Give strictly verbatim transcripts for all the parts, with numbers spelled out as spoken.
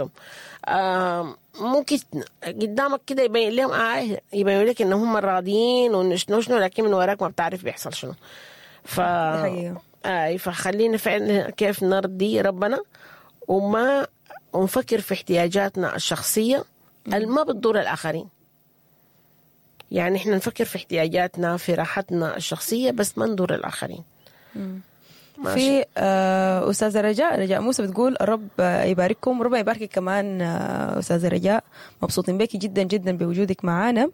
حاجاتهم. آه ممكن قدامك كده يبين لهم آه يبين لك ان هم راضيين وإنه شنو شنو، لكن من وراك ما بتعرف بيحصل شنو. ف دي حقيقة. آه فخلينا فعلا كيف نرضي ربنا وما ونفكر في احتياجاتنا الشخصية اللي ما بتضر الآخرين. يعني احنا نفكر في احتياجاتنا، في راحتنا الشخصية، بس ما نضر الآخرين. ماشي. في آه، أستاذة رجاء رجاء موسى بتقول الرب آه، يبارككم، ربنا يباركك كمان آه، أستاذة رجاء، مبسوطين بك جدا جدا بوجودك معانا.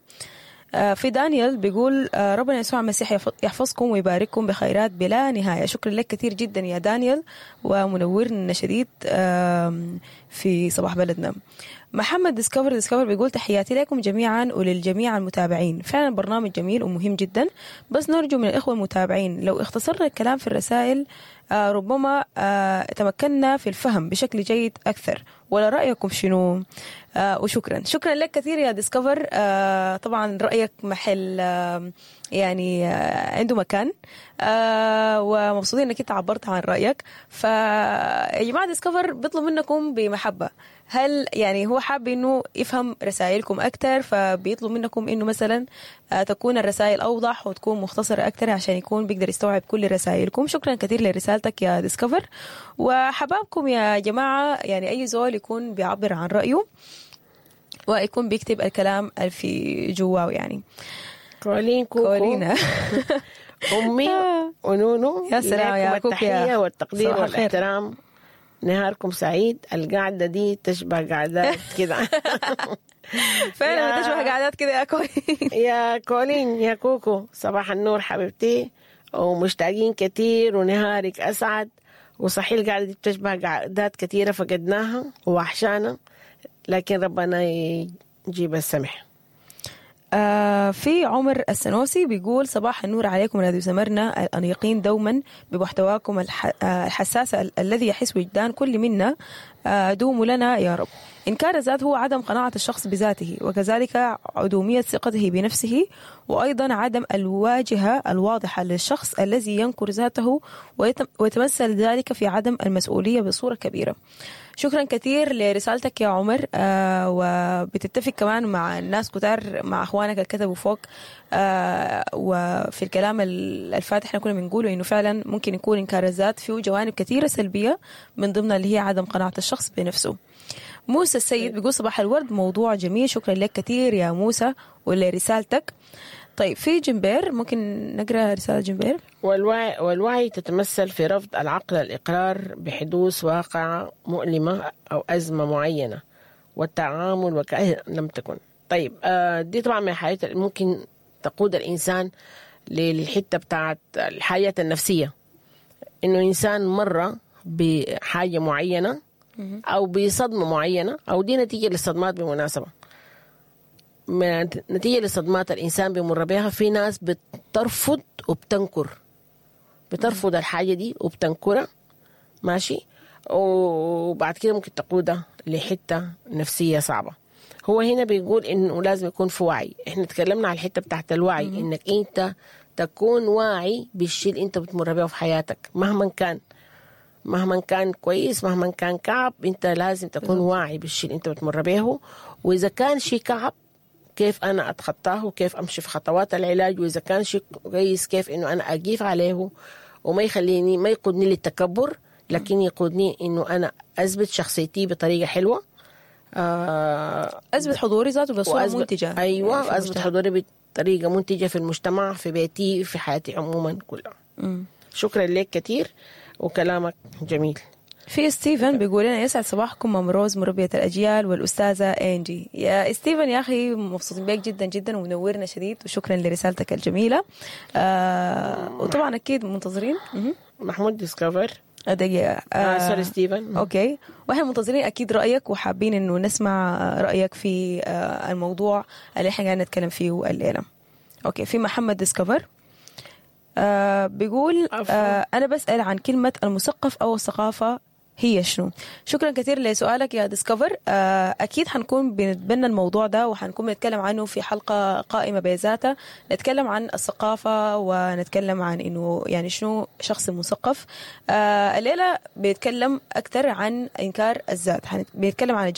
آه، في دانيال بيقول آه، ربنا يسوع المسيح يحف- يحفظكم ويبارككم بخيرات بلا نهاية. شكرا لك كثير جدا يا دانيال، ومنورنا شديد آم، في صباح بلدنا. محمد ديسكفر ديسكفر بيقول تحياتي لكم جميعا وللجميع المتابعين، فعلا برنامج جميل ومهم جدا، بس نرجو من الإخوة المتابعين لو اختصرنا الكلام في الرسائل آه، ربما آه، تمكنا في الفهم بشكل جيد أكثر، ولا رأيكم شنو؟ آه، وشكرا شكرا لك كثير يا ديسكفر. آه، طبعا رأيك محل آه، يعني آه، عنده مكان، آه، ومبسوطين انك انت عبرت عن رأيك. فيا جماعة ديسكفر بيطلب منكم بمحبة، هل يعني هو حاب انه يفهم رسائلكم اكثر، فبيطلب منكم انه مثلا آه، تكون الرسائل اوضح وتكون مختصره اكثر عشان يكون بيقدر يستوعب كل رسائلكم. شكرا كثير لرسالتك يا ديسكفر. وحبابكم يا جماعة، يعني اي زول يكون بيعبر عن رايه ويكون بيكتب الكلام اللي في جواه يعني. كولين كوكو كولينا أمي ونونو، يا سلام يا لكم كوكو يا التحية والتقدير صباح الخير. والاحترام. نهاركم سعيد. القعدة دي تشبه قعدات كده. فعلا يا- بتشبه قعدات كده يا كولين. يا كولين يا كوكو، صباح النور حبيبتي، ومشتاقين كتير، ونهارك أسعد. وصحيح القعدة دي بتشبه قعدات كتيرة فقدناها ووحشانا، لكن ربنا يجيب السمح. آه في عمر السنوسي بيقول صباح النور عليكم راديو سمرنا الأنيقين دوما بمحتواكم الح... آه، الحساس ال- الذي يحس وجدان كل منا، آه، دوموا لنا يا رب. إنكار الذات هو عدم قناعة الشخص بذاته، وكذلك عدومية ثقته بنفسه، وأيضا عدم الواجهة الواضحة للشخص الذي ينكر ذاته، ويتم- ويتمثل ذلك في عدم المسؤولية بصورة كبيرة. شكرا كثير لرسالتك يا عمر، آه وبتتفق كمان مع الناس كتار، مع اخوانك اللي كتبوا فوق، آه وفي الكلام ال- الفاتح احنا كنا بنقوله انه فعلا ممكن يكون انكار الذات فيه جوانب كثيرة سلبية، من ضمنها اللي هي عدم قناعة الشخص بنفسه. موسى السيد بيقول صباح الورد، موضوع جميل، شكرا لك كثير يا موسى ولرسالتك. طيب في جنبير، ممكن نقرا رسالة جنبير؟ والوعي, والوعي تتمثل في رفض العقل الإقرار بحدوث واقعة مؤلمة أو أزمة معينة والتعامل وكأن لم تكن. طيب آه، دي طبعا من الحاجات اللي ممكن تقود الإنسان للحتة بتاعت الحياة النفسية، إنه إنسان مر بحاجة معينة أو بصدمة معينة، أو دي نتيجة للصدمات بالمناسبة، من- نتيجة لصدمات الإنسان بيمر بها. في ناس بترفض وبتنكر، بترفض الحاجة دي وبتنكرها، ماشي، وبعد كده ممكن تقودها لحتة نفسية صعبة. هو هنا بيقول إنه لازم يكون في وعي. إحنا تكلمنا على الحتة بتاعت الوعي، إنك أنت تكون واعي بالشيء اللي أنت بتمر بيه في حياتك، مهما كان، مهما كان كويس مهما كان كعب، انت لازم تكون واعي بالشيء اللي انت بتمر به. واذا كان شيء كعب كيف انا اتخطاه، وكيف امشي في خطوات العلاج، واذا كان شيء كويس كيف انه انا اقيف عليه وما يخليني، ما يقودني للتكبر، لكن يقودني انه انا اثبت شخصيتي بطريقة حلوة، آه اثبت حضوري ذاته بصورة وأثبت- منتجه ايوه، يعني في واثبت المجتمع. حضوري بطريقة منتجه في المجتمع، في بيتي، في حياتي عموما كلها. مم. شكرا لك كثير وكلامك جميل. في ستيفن بيقول لنا يسعد صباحكم مام روز مربية الأجيال والأستاذة إنجي. يا ستيفن يا أخي مبسوطين بك جدا جدا ومنورنا شديد، وشكرا لرسالتك الجميلة. آه وطبعا أكيد منتظرين. مهم. محمود ديسكفر. دقيقة. آه sorry ستيفن. okay، واحنا منتظرين اكيد رايك، وحابين انه نسمع رايك في آه، الموضوع اللي احنا قاعدين نتكلم فيه الليلة. okay، في محمد ديسكفر آه بيقول عفوا. آه انا بسال عن كلمة المثقف او الثقافة هي شنو؟ شكرا كثير لسؤالك يا ديسكفر. آه اكيد حنكون بنتبنى الموضوع ده، وحنكون بنتكلم عنه في حلقة قائمة بذاتها، نتكلم عن الثقافة ونتكلم عن انه يعني شنو شخص مثقف. آه الليلة بيتكلم اكثر عن انكار الذات، حن- بيتكلم عن